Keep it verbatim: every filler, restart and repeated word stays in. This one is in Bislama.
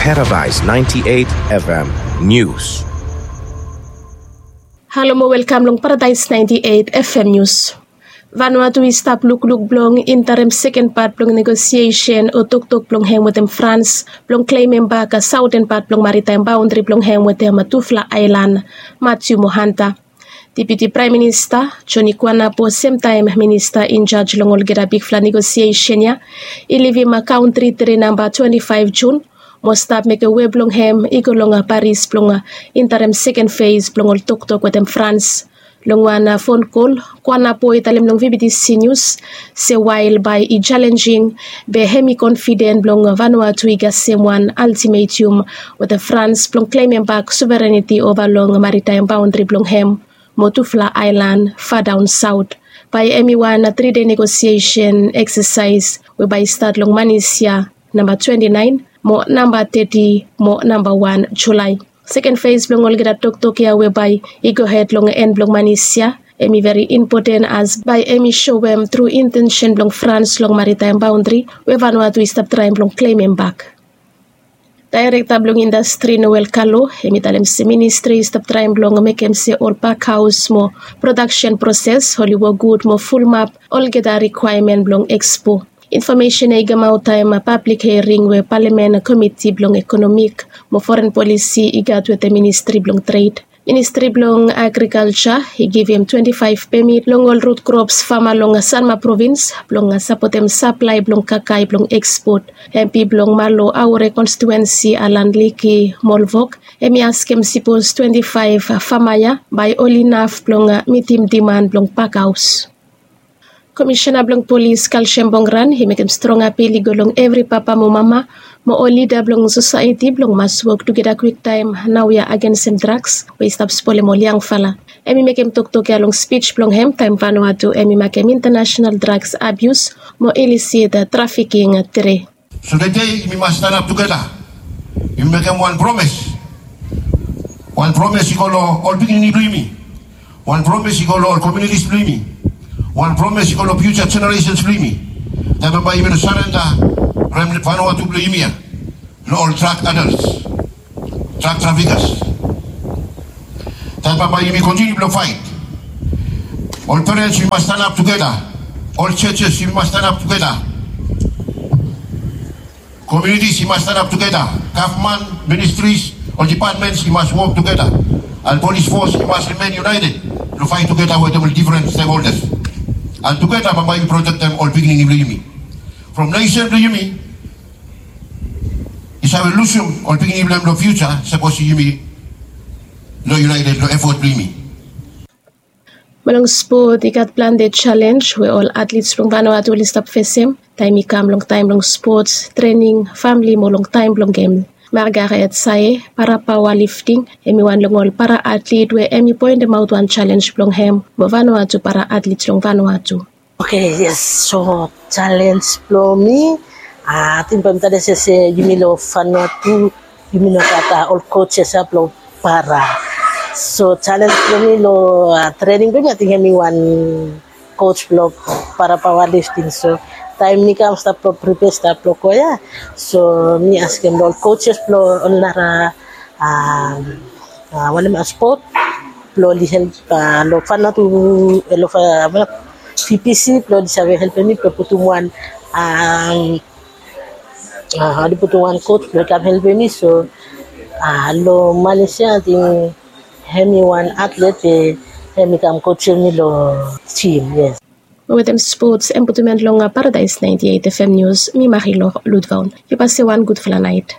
Paradise ninety-eight F M News. Halo mo welkam long Paradise ninety-eight F M News. Vanuatu i stap lukluk blong interim seken pat blong negosiesen o toktok blong hem wetem Frans blong klemem bak saoten pat blong maritaem baondri blong hem wetem tufala aelan, Matiu mo Hanta. Deputi Praem Minista Joni Kuanapo, semtaem minista injaj long olgeta bigfala negosiesen ya, i livim kaontri tre namba twenti faef Jun mo stap mekem we blong hem i go long Paris blong interim seken fes blong ol toktok wetem Frans. Long wan fon kol, Kuanapo i talem long V B T C News se wael bae i jalenjing, be hem i konfiden blong Vanuatu i gat semwan altimetium wetem Frans blong klemem bak sovereniti ova long maritaem baondri blong hem mo tufala aelan fadaon saot. Bae hem i wan tri dei negosiesen eksesaes we bae i stat long manis ya namba twenti naen mo namba teti mo namba wan Julae. Seken fes blong olgeta toktok ya we bae i gohed long en blong manis ya, hem i veri impoten as bae hem i soem tru intensen blong Frans long maritaem baondri we Vanuatu i stap traem blong klemem bak. Daerekta blong indastri Noel Kalo, hem i talem se ministri i stap traem blong mekem se ol pakhaos mo prodaksen proses oli wok gud mo fulumap olgeta rikwaemen blong ekspo. Infomesen ya i kamaot taem pablik hiering we palamen komiti blong ekonomik mo foren polisi i gat wetem ministri blong tred. Ministri blong agrikalja i givim twenti faef pemit long ol rut krops fama long Sanma provins blong sapotem saplae blong kakae blong ekspot. Empi blong Malo Aure konstituensi Alan Liki Molvok, hem i askem sipos twenti faef fama ya bae oli inaf blong mitim diman blong pakhaos. Komisena blong polis Kalsem Bongran i mekem strong apil i go long evri papa mo mama mo ol lida blong sosaeti blong mas wok tugeta kwiktaem naoia agensem draks we i stap spolem ol yangfala. Hem i mekem toktok ya long spij blong hem taem Vanuatu hem i makem International Drugs Abuse mo Illicit Trafficking tre. So tede yumi mas stanap tugeta. Yumi mekem wan promes. Wan promes i go long ol pikinini blong yumi. Wan promes i go long ol komunitis blong yumi. Wan promes i go long fiuja jeneresens blong yumi. Taem bambae yumi no sarenda rem Vanuatu blong yumi ya long ol drag adels, drag trafikas. Taem bambae yumi kontiniu blong faet. Ol perens yumi mas stanap tugeta. Ol jejes yumi mas stanap tugeta. Komunitis i mas stanap tugeta. Gavman, ministris, ol dipatmens i mas wok tugeta. And polis fos i mas rimen yunaeted blong faet tugeta wetem ol difren stekholdas. And tugeta bambae yumi protektem ol pikinini blong yumi from nesen blong yumi i save lusum ol pikinini blong hem long fiuja sapos yumi no yunaeted long efot blong yumi. Mo long spot i gat plante jalenj we ol atlits blong Vanuatu oli stap fesem taem i kam long taem blong spots, trening, famle mo long taem blong gem. Margaret Sae, para paoa lifting, hem i wan long ol para atlit we hem i poentemaot wan jalenj blong hem mo Vanuatu para atlits long Vanuatu. Oke, yes. So jalenj blong mi, ating bae mi talem se yumi long Vanuatu yumi no gat ol kojes ya blong para. So jalenj blong mi long trening blong mi, ating hem i wan koj blong para paoa lifting. So taem mi kam stap blong pripea stap blong go ya, so mi askem long ol kojes blong ol nara wanem, spot blong oli help long Vanuatu, long V P C blong oli save helpem mi blong putum wan, oli putum wan koj blong i kam helpem mi. So long Malaysia ating hem i wan atlet we hem i kam kojem mi long jim. Yes. Mo wetem spots, hem putum en long Paradise ninety-eight F M News, mi Marilor Ludvaun. Yu pasem wan gudfala naet.